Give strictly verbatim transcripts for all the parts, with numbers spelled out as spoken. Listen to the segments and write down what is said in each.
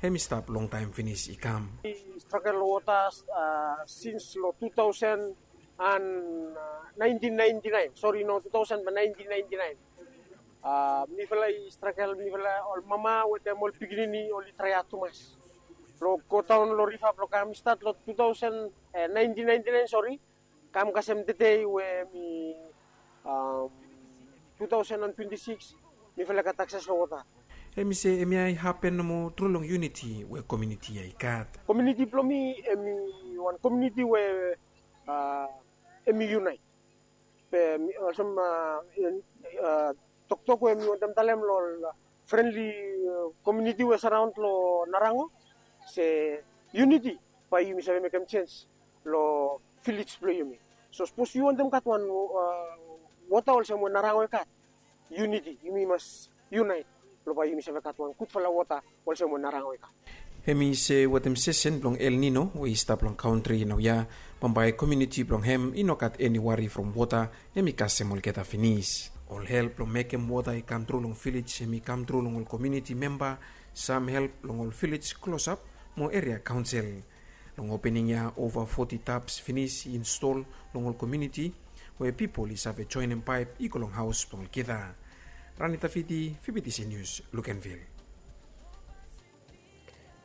Hem i stap longtaem finis i kam. Strakel long wota sins long tu taosen an naentin naenti naen, sori, no, tu taosen ba naentin naenti naen. Mifala i strakel, mifala, ol mama wetem ol pikinini oli traeat tumas long godaon long riva blong kam. I stat long tu taosen naentin naenti naen, sori, kam kasem tedei we mi tu taosen an twenti sikis, mifala i gat akses long wota. Hem i se hemia i hapen nomo tru long yuniti we komuniti ya i gat. Komuniti blong mi hem i wan komuniti we hem i yunaet. Be olsem toktok we mi wantem talem long ol frenli komuniti we saraon long Narango, se yuniti bae yumi save mekem jens long vilej blong yumi. So sapos yu wantem gat wan wota olsem we Narango i gat, yuniti, yumi mas yunaet blong bae yumi save gat wan gudfala wota olsem we Narango i gat. Hem i se wetem sesen blong El Nino we i stap long kantri naoia, bambae komuniti blong hem i no gat eni wari from wota, hem i kasem olgeta finis. Ol help blong mekem wota i kam tru long vilej hem i kam tru long ol komuniti memba, sam help long ol vilej klosap mo eria kaonsel. Long opening ya ova foti taps finis i install long ol komuniti we pipol i save joenem paep i go long haos blong olgeta. Rani Tafiti, Fibitisi Nius, Lukenvil.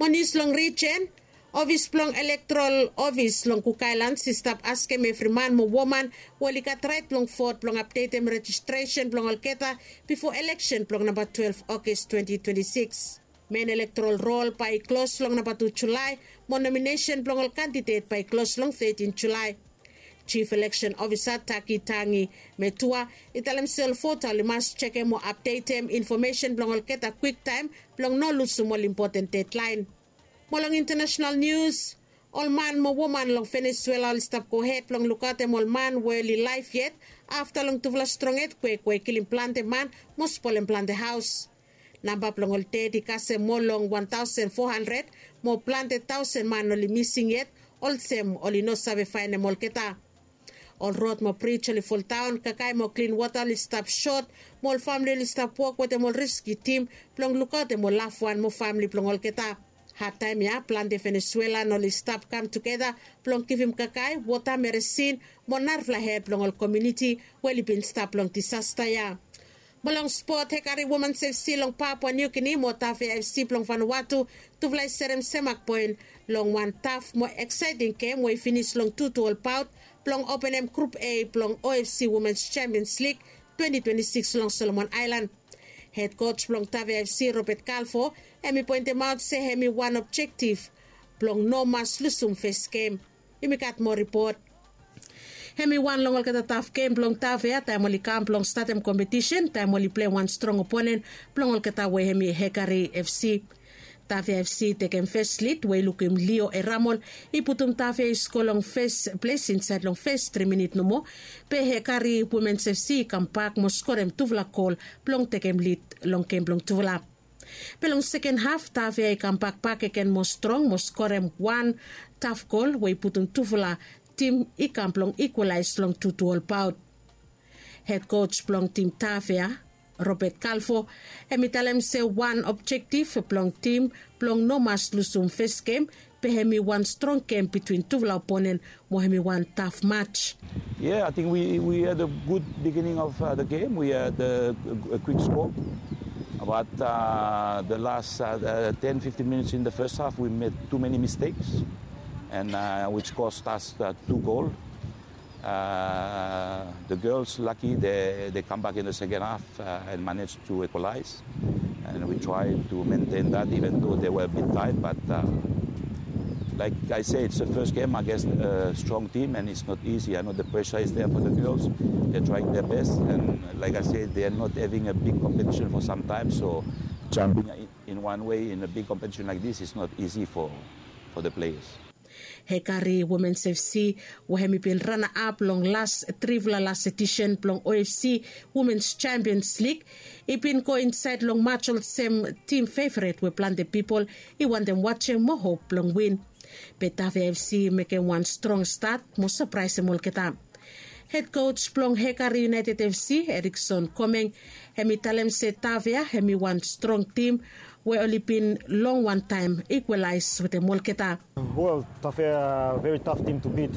Mo nius long rijen, ofis blong elektorol ofis long Kuk Aelans i stap askem evri man mo woman we oli gat raet blong vot blong apdetem rejistresen blong olgeta bifo eleksen blong namba twelef Oges twenti twenti sikis. Men elektorol rol bae i klos long namba tu Julae, mo nominesen blong ol kandidet bae i klos long tetin Julae. Jif Eleksen Ofisa Taki Tangi Metua i talem se ol vota oli mas jekem mo apdetem infomesen blong olgeta kwiktaem blong no lusum ol impoten dedlaen. Mo long intanesenal nius, ol man mo woman long Venesuela oli stap gohed blong lukaotem ol man we oli laef yet afta long tufala strong etkwek we i kilim plante man mo spolem plante haos. Namba blong ol ded i kasem moa long wan taosen fo handred, mo plante taosen man oli mising yet, olsem oli no save faenem olgeta. Ol rod mo brij oli foldaon, kakae mo klin wota oli stap sot, mo ol famle oli stap wok wetem ol reskiu tim blong lukaotem ol lafwan mo famle blong olgeta. Hadtaem ya plante Venesuelan oli stap kam tugeta blong givim kakae, wota, meresin mo narafala help long ol komuniti we oli bin stap long disasta ya. Mo long spot, Hekari Womens FC long Papua Niu Gini mo Tafea FC blong Vanuatu, tufala i serem semak poen long wan taf mo eksaeting gem we i finis long tutu ol paot blong openem Grup A blong OFC Womens Champions League twenti twenti sikis long Solomon Aelan. Hed koj blong Tafea FC, Robert Kalfo, hem i poentemaot se hem i wan objektif blong no mas lusum fes gem. Yumi gat moa ripot. Hem i wan long olgeta taf gem blong Tafea taem oli kam blong statem kompetisen, taem oli plei wan strong oponen blong olgeta we hem i Hekari FC. Tafea FC i tekem fes lid we i lukim Lio Eramol i putum Tafea i sko long fes ples insaed long fes tri minit nomo. Be Hekari Womens FC i kambak mo skorem tufala gol blong tekem lid long gem blong tufala. Be long seken haf Tafea i kambak bakegen mo strong mo skorem wan taf gol we i putum tufala tim i kam blong ikwalaes long tutu ol paot. Hed koj blong tim Tafea, Robert Kalfo, hem i talem se wan objektif blong tim blong no mas lusum fes gem, be hem i wan strong gem bitwin tufala oponen mo hem i wan taf maj. Yeah, I think we, we had a good beginning of uh, the game. We had a, a quick score. But uh, the last uh, uh, ten, fifteen minutes in the first half, we made too many mistakes, and uh, which cost us uh, two goals. Uh, the girls, lucky, they, they come back in the second half uh, and managed to equalize. And we tried to maintain that even though they were a bit tight. But uh, like I say, it's the first game against a strong team and it's not easy. I know the pressure is there for the girls. They're trying their best. And like I said, they're not having a big competition for some time. So jumping in, in one way in a big competition like this is not easy for, for the players. Hekari Womens FC, we hem i bin ranaap long las trifala las edisen blong OFC Womens Champions League, i bin go insaed long maj olsem tim feveret we plante pipol i wantem wajem mo hop blong win. Be Tafea FC i mekem wan strong stat mo sapraesem olgeta. Hed koj blong Hekari United FC, Erikson Komeng, hem i talem se Tafea hem i wan strong tim we oli bin long wantaem ikwalaes wetem olgeta. Well, tafea, very tough team to beat.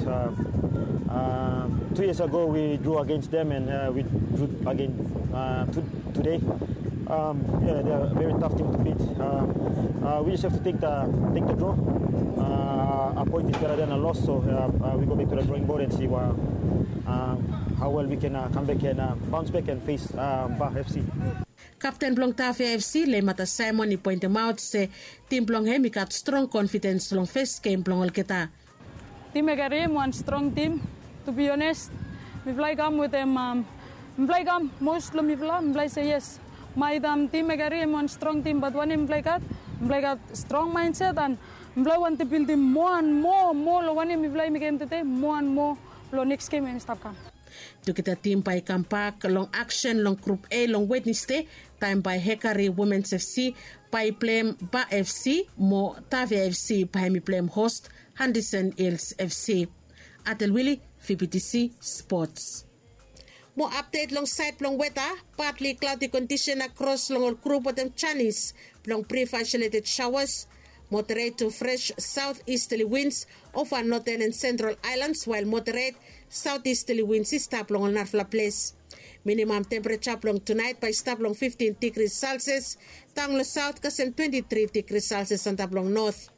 Two years ago we drew against them and we drew again today. Very tough team to beat. We just have to take the draw. A point is better than a loss, so we go back to the drawing board and see how well we can come back and bounce back and face Ba FC. Kapten blong Tafea FC, Lemata Simon, i poentemaot se tim blong hem i gat strong konfidens long fes gem blong olgeta. Tim i karim wan strong tim. To be honest, mifala i kam wetem, mifala i kam mos long mifala, mifala i se yes. Maet tim i karim wan strong tim, bat wanem mifala i gat? Mifala i gat strong maenset and mifala i wantem bildim moa and moa, moa long wanem mifala i mekem tede, moa and moa long neks gem we i stap kam. Tugeta tim bae i kambak long aksen long Grup A long Wednesde, taem bae Hekari Womens FC bae i pleim Ba FC, mo Tafea FC bae hem i pleim hos Henderson Hills FC. Atel Wili, VBTC Sports. Mo apdet long saed blong weta, partly cloudy condition across long ol grup wetem janis blong brief isolated showers, moderate to fresh southeasterly winds over northern and central islands, while moderate southeasterly winds i stap long ol narafala ples. Minimum temperature blong tonight bae i stap long fifteen degrees Celsius, daon long south kasem twenty-three degrees Celsius antap long north.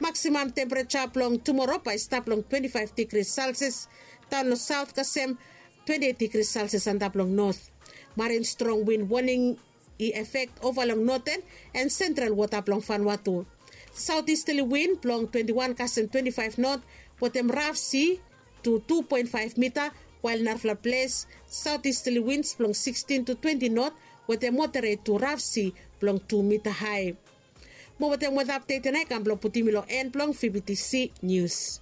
Maximum temperature blong tomorrow bae i stap long twenty-five degrees Celsius, daon long south kasem twenty-eight degrees Celsius antap long north. Marin strong wind warning i effect over long northern and central water blong Vanuatu. Southeasterly wind blong twenty-one kasem twenty-five knot wetem rough sea to two point five meter, while narafala ples southeasterly winds blong sixteen to twenty knot wetem moderate to rough sea blong two meter high. Mo wetem weather update ia nao i kam blong putum mi long en blong VBTC News.